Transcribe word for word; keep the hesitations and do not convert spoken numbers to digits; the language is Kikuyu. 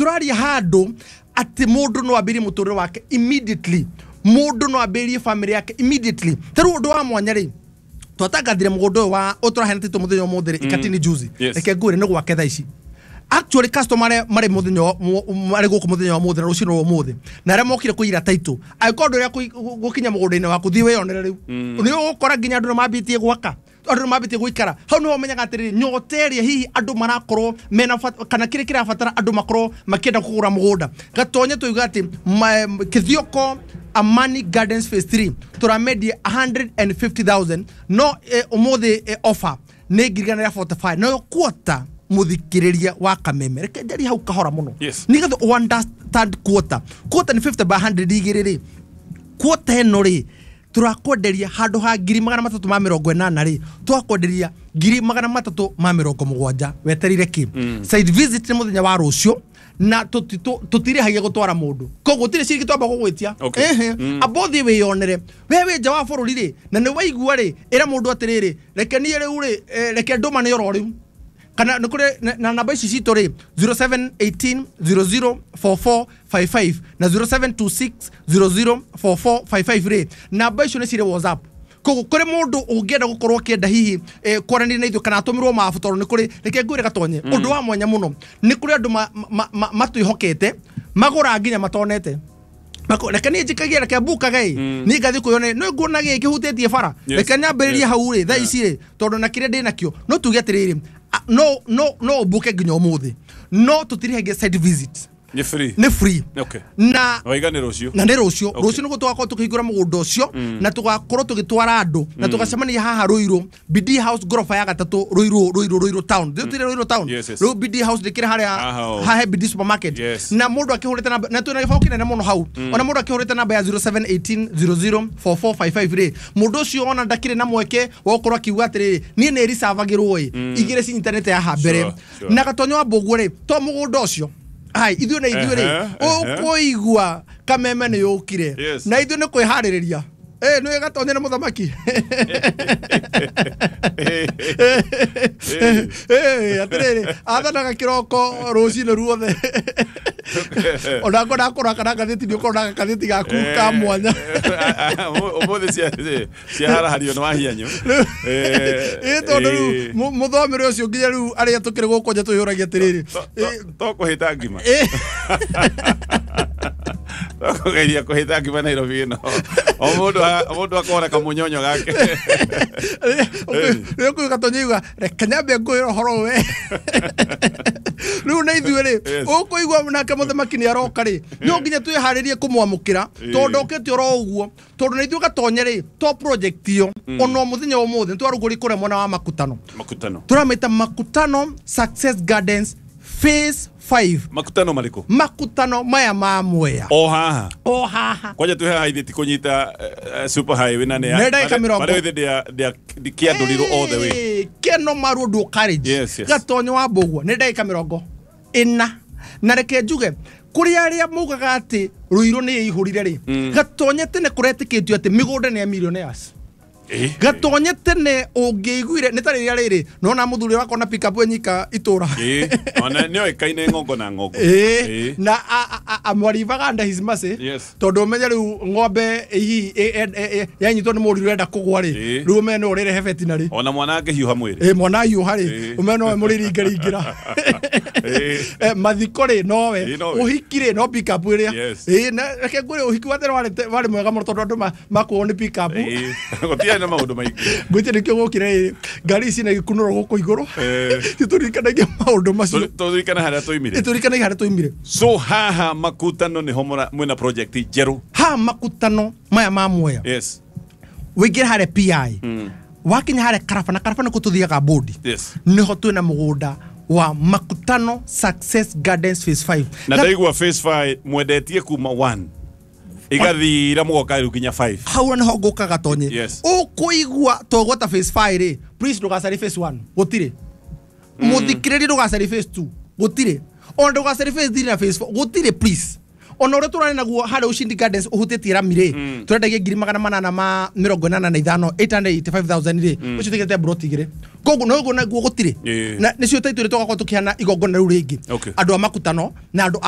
Tũraria handũ atĩ mũndũ no ambĩrie mũtũrĩre wake immediately, mũndũ no ambĩrie family yake immediately. Ta rĩu ũndũ wa mwanya rĩ, twatangathire mũgũnda ũyũ wa ũtũraheana titũ mũthenya ũmũthĩ rĩ, Ikatini juzi. Yes. Reke ngwĩre nĩ gwake thaa ici. Actually, customer arĩa marĩ mũthenya wa- mu- marĩ gũkũ mũthenya wa mũthĩ na rũcinĩ rwa ũmũthĩ na arĩa mokire kũira title, angĩkorwo ndũrĩa gũkinya mũgũnda-inĩ waku, thiĩ wĩyonere. Rĩu nĩ ũgũkora nginya andũ nĩ mambĩtie gwaka, andũ nĩ mambĩtie gũikara hau. Nĩho ũmenyaga atĩrĩrĩ, nyota ĩrĩa hihi andũ marakorwo mena bata- kana kĩrĩa kĩrabatara andũ makorwo makĩenda kũgũra mũgũnda. Gatonye tuiga atĩ ma- Kithioko Amani Gardens phase three tũramendia one hundred fifty thousand, no eh, ũmũthĩ eh, offer nĩ ngiri igana rĩa mĩrongo ĩna na ithano, nayo quarter. Mũthikĩrĩria wa Kameme, reke njarie hau kahora mũno Yes. nĩgetha ũ understand quarter. Quarter nĩ fifty by one hundred igĩrĩ rĩ. Quarter ĩno rĩ, tũrakwenderia handũ ha ngiri magana matatũ ma mĩrongo ĩnana rĩ, twakwenderia ngiri magana matatũ ma mĩrongo mũgwanja. Weterire kĩ? Site visit nĩ mũthenya wa rũciũ na tũti- tũ- tũtirĩhagia gũtwara mũndũ, koguo gũtirĩ ciringi twamba gũgwĩtia. Okay. Ehe. Amba ũthiĩ wĩyonere we wĩ nja wa bũrũri rĩ, na nĩ waigua rĩ, ĩra mũndũ atĩrĩrĩ, reke niĩ rĩu rĩ, eh, reke ndũmane oro rĩu kana nĩ kũrĩ na- na namba ici citũ rĩ, zero seven one eight zero zero four four five five na zero seven two six zero zero four four five five rĩ, namba icio nĩ cirĩ WhatsApp. Koguo kũrĩ mũndũ ũngĩenda gũkorwo akĩenda hihi eh, kwaranĩria na ithuĩ kana atũmĩrwo mabu, tondũ nĩ kũrĩ, reke ngwĩre Gatonye, ũndũ wa mwanya mũno, nĩ kũrĩ andũ ma- ma- ma- matwĩhokete magũra nginya matonete. Mako- reke niĩ njikagie, reke mbukage ĩ, niĩ ngathiĩ kwĩyonera, nĩ nguona gĩkĩ kĩhutĩtie bara. Yes. Reke nyambĩrĩrie Yes. hau rĩ thaa ici rĩ, tondũ na kĩrĩa ndĩ nakĩo no tuge atĩrĩrĩ, a- no no no ũmbuke nginya ũmũthĩ, no tũtirĩhagia site visit. Nĩ free? Nĩ free. Okay. Na waiga nĩ rũciũ? Na nĩ rũciũ. Okay. Rũciũ nĩguo tũgakorwo tũkĩhingũra mũgũnda ũcio na tũgakorwo tũgĩtwara andũ na tũgacemania haha Ruiru, B D House, ngoroba ya gatatũ, Ruiru Ruiru Ruiru town. Thĩ Ruiru town. Yes, yes. Rĩu B D House ndĩkĩrĩ harĩa Haha o. hahe B D supermarket. Yes. Na mũndũ akĩhũrĩte namba, na twĩna gĩbaũ kĩnene mũno hau, ona mũndũ akĩhũrĩte namba ya zero seven one eight zero zero four four five five rĩ, mũndũ ũcio ona ndakĩrĩ na mweke wa gũkorwo akiuga atĩrĩrĩ, niĩ nĩ ricavagĩrwo ĩ igĩrĩ cinyitanĩte haha mbere. Sure, sure. Na Gatonyo wa Mbũguo rĩ, to mũgũnda ũcio hai ithuĩ na ithuĩ rĩ, Ehe, ehe. ũkũigua Kameme nĩ yũkire. Yes. Na ithuĩ nĩ kwĩharĩrĩria. Eh, nĩ Gatonye nĩ mũthamaki. Eh, atĩrĩrĩ, athanaga kĩroko rũcinĩ ruothe, ona ngona akũra kana ngathĩti, nĩ ũkorwo na gathĩti gaku ka mwanya. Ũmũthĩ cia- ciaharahario nĩ wahianyu. Ĩ, tondũ rĩu mũ- mũthomere ũcio nginya rĩu arĩa tũkĩrĩ gũkũ nja twĩyũragia atĩrĩrĩ, ĩ, To kũhĩta ngima, ĩ, to kũgeria kũhĩta ngima Nairobi ĩno, o mũndũ a- o mũndũ akona kamũnyonyo gake. Rĩu kũu Gatonye iuga reke nyambe ngwĩre ũhoro we rĩu na ithuĩ rĩ, Yes. ũkũigua nake mũthamaki nĩ aroka rĩ, no nginya twĩharĩrie kũmwamũkĩra, tondũ ndokĩte oro ũguo, tondũ na ithuĩ Gatonye rĩ, to project ĩyo, ona mũthenya wa ũmũthĩ nĩtwarugũri kũrĩa mwena wa Makutano. Makutano? Tũramĩta Makutano Success Gardens phase five. Makutano marĩkũ? Makutano maya ma Mwea. O haha? O haha. Kwanja twĩ haha ithe ti kũnyita eh, super highway na nĩ Nĩ ndagĩka mĩrongo. barĩ ithe ndĩa kĩandũrirwo all the way. Ĩĩ, Keno Maru Dual Carriage. Yes, yes. Gatonyo wa Mbũgua nĩ ndagĩka mĩrongo ĩna. Na reke njuge kũrĩ arĩa maugaga atĩ Ruiru nĩ ĩihũrire rĩ, Gatonye tene kũretĩkĩtio atĩ mĩgũnda nĩ ya millionaires. Eh, Gatonye tene ũngĩiguire nĩ ta rĩrĩa rĩrĩ nona mũthuri wakona pick up enyika itũra. Ĩĩ, ona nĩ oĩkaine ng'ongo na ng'ongo. Ĩĩ, Ĩĩ. na amwarivaga under his mercy. Yes. Tondũ ũmenye rĩu ng'ombe hihi ĩ- ĩ- ĩ- yanyitwo nĩ mũriũ ĩrenda kũgwa rĩ, Ĩĩ. rĩu ũmenye nĩ ũrĩrehe veterinary. Ona mwana angĩhiũha mwĩrĩ. Ĩ, mwana ahiũha rĩ, Ĩĩ. ũmenye nowe mũrĩringaringĩra. Ĩĩ. Eh, mathiko rĩ, nowe. Ĩĩ, nowe. Ũhiki rĩ, no pick up ĩrĩa. Yes. Ĩĩ, na reke ngwĩre, ũhiki wa tene warĩ te- warĩ mwega mũno tondũ andũ ma- makuo nĩ pick up. Ĩĩ. Gũtiarĩ na maũndũ maingĩ. Ngwĩtie nĩkĩo gũkire ĩ ngari ici na gĩkunũro gũkũ igũrũ, Eh. titũririkanagia maũndũ macio. Tũririkane harĩa tũimire. Tũririkanagia harĩa tũimire. So haha Makutano nĩho mũra- mwĩna project njerũ? Haha Makutano maya ma Mwea, yes wĩingĩre harĩa P I, wakinya harĩa Karaba, na Karaba nĩkuo tũthiaga bodi, yes nĩho twĩna mũgũnda wa Makutano Success Gardens phase five. Na ndaigua phase five mwendetie kuma one igathira mũgoka rĩu nginya five. Hau nĩho ngũka, Gatonye. Yes. Ũkũigua twagwata phase five rĩ, please ndũgacarie phase one, gũtirĩ. Mũthikĩrĩrie, ndũgacarie phase two, gũtirĩ. Ona ndũgacarie phase three na phase four, gũtirĩ, please. Ona ũrĩa tũrarĩ naguo harĩa Ushindi Gardens ũhutĩtie rami rĩ, tũrendagia ngiri magana manana ma mĩrongo ĩnana na ithano, eight hundred eighty-five thousand rĩ, ũcio tũigĩte broti igĩrĩ, koguo no naguo gũtirĩ. Ĩĩ. Na nĩcio taitũ rĩ, tũgakorwo tũkĩhana igongona rĩu rĩngĩ Okay. andũ a Makutano na andũ a